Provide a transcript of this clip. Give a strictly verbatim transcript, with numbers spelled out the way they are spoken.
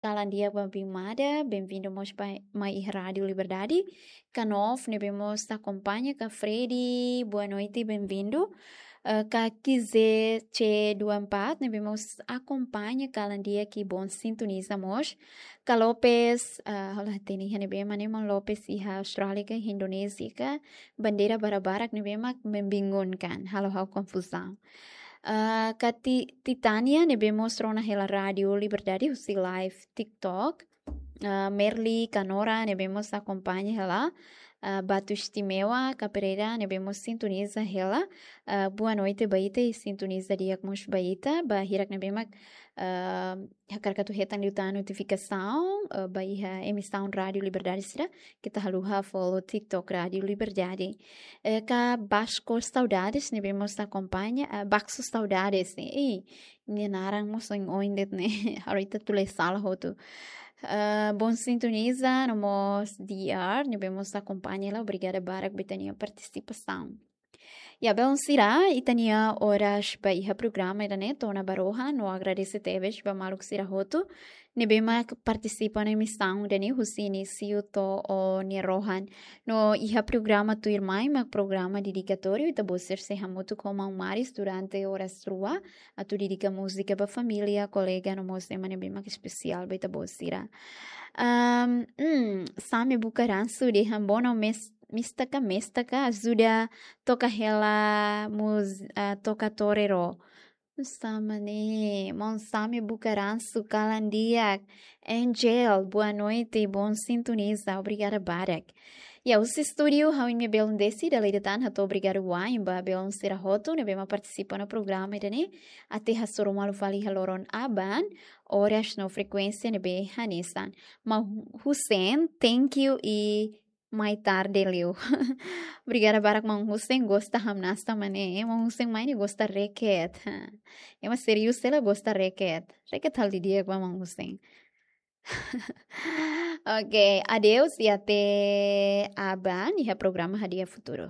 Kalan di'ak ba Bimada, bem-vindo mós ba, mai iha Rádio Liberdade. Ka Nof, ne'ebé mós akompaña, ka Freddy, boa noite, bem-vindo. Eh, ka Kize C dua empat, ne'ebé mós akompaña, kalan di'ak i bom sintoniza mós. Ka Lopes, ah, hola, teni iha ne'ebé, mane, maun Lopes iha Austrália ka Indonézia ka, bandeira barak-barak ne'ebé mak membingungkan, halo ha'u konfuzaun. Ah, ka Ti-, Titania ne'ebé mós rona hela Rádio Liberdade husi live TikTok. Ah, Merly ka Nora ne'ebé mós akompaña hela. Ah, Batu Istimewa ka Pereira ne'ebé mós sintoniza hela. Ah, boa noite ba ita i sintoniza di'ak mós ba ita. Ba hirak ne'ebé mak, ah, hakarak atu hetan liután notifikasaun, eh, ba iha emisaun Rádio Liberdade sira, keta haluha follow TikTok Rádio Liberdade. Eh, ka Basco Saudades, ne'ebé mós akompaña, eh, Baxo Saudades, ne'e. Ih, nia naran mós oin-oin de'it ne'e. Ha'u ita tule sala hotu. Eh, bom sintoniza, no mós D R, ne'ebé mós akompaña hela, obrigada barak ba ita-nia partisipasaun. Ya, belun sira, ita-nia oras ba iha programa ida-ne'e to'o ona ba rohan, no agradese tebes ba maluk sira hotu ne'ebé mak partisipa ona emisaun ida-ne'e husi inísiu to'o nia rohan. No iha programa tuirmai mak programa dedikatóriu, ita-boot sira sei hamutuk ho maun Maris durante oras rua, atu dedika múzika ba família, kolega, no mós ema ne'ebé mak espesiál ba ita-boot sira. Am, hmm, Sami Buka Ransu dehan: "Bono mes-, mista ka, mesta ka, ajuda toka hela mus-, ah, toka tore ro." Sá mak ne'e, maun Sami Buka Ransu, kalan di'ak. Angel, boa noite, bom sintoniza, obrigada barak. Ya, husi estúdiu, ha'u-nia belun Desi, dala ida tan hato'o obrigadu wa'in ba belun sira hotu ne'ebé mak partisipa ona programa ida-ne'e, até hasoru malu fali iha loron aban, oras no frekuénsia ne'ebé hanesan. Maun Hussein, thank you i mai tarde liu. Obrigada barak maun Hussein, gosta hamnasa mak ne'e. Maun Hussein mai ne'e gosta reket. Ema sériu sira la gosta reket. Reket halo didi'ak ba maun Hussein. Oke, adeus i até aban iha programa Hadi'a Futuru.